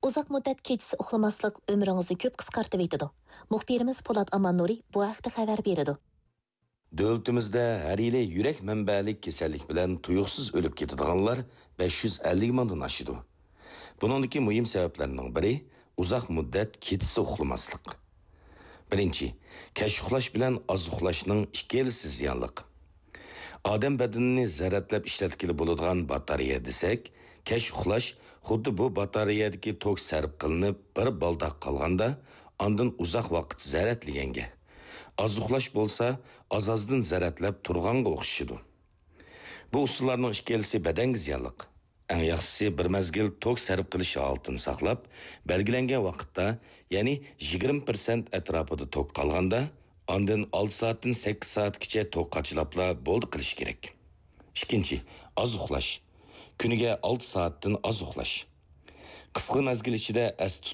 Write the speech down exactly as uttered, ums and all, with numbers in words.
ئۇزاق مۇددەت كېچىسى ئۇخلىماسلىق ئۆمرىڭىزنى كۆپ قىسقارتىۋېتىدۇ. مۇخبىرىمىز پولات ئاماننۇرى بۇ ھەقتە خەۋەر بېرىدۇ. دۆلىتىمىزدە ھەر يىلى يۈرەك مەنبەلىك كېسەللىك بىلەن تۇيۇقسىز ئۆلۈپ كېتىدىغانلار بەش يۈز ئەللىك مىڭدىن ئاشىدۇ. بۇنىڭدىكى مۇھىم سەۋەبلەرنىڭ بىرى ئۇزاق مۇددەت كېچىسى ئۇخلىماسلىق. بىرىنچى، كەچ ئۇخلاش بىلەن ئاز ئۇخلاشنىڭ ئىككىلىسى زىيانلىق. ئادەم بەدىنىنى زەرەتلەپ ئىشلەتكىلى بولىدىغان باتارېيە دېسەك، كەچ ئۇخلاش خۇددى بۇ باتارېيەدىكى توك سەرپ قىلىنىپ بىر بالداق قالغاندا، ئاندىن ئۇزاق ۋاقىت زەرەتلىگەنگە. ئاز ئۇخلاش بولسا ئاز-ئازدىن زەرەتلەپ تۇرغانغا ئوخشىشىدۇ. بۇ ئۇسۇللارنىڭ ئىككىلىسى بەدەنگە زىيانلىق. ئەڭ ياخشىسى بىر مەزگىل توك سەرپ قىلىش ھالىتىنى ساقلاپ، بەلگىلەنگەن ۋاقىتتا، يەنى يىگىرمە پىرسەنت ئەتراپىدا توك قالغاندا، ئاندىن ئالتە سائەتتىن سەككىز سائەتكىچە توك قاچىلاپلا بولدى قىلىش كېرەك. ئىككىنچى، ئاز ئۇخلاش. كۈنىگە ئالتە سائەتتىن ئاز ئۇخلاش. قىسقا مەزگىل ئىچىدە ئەستە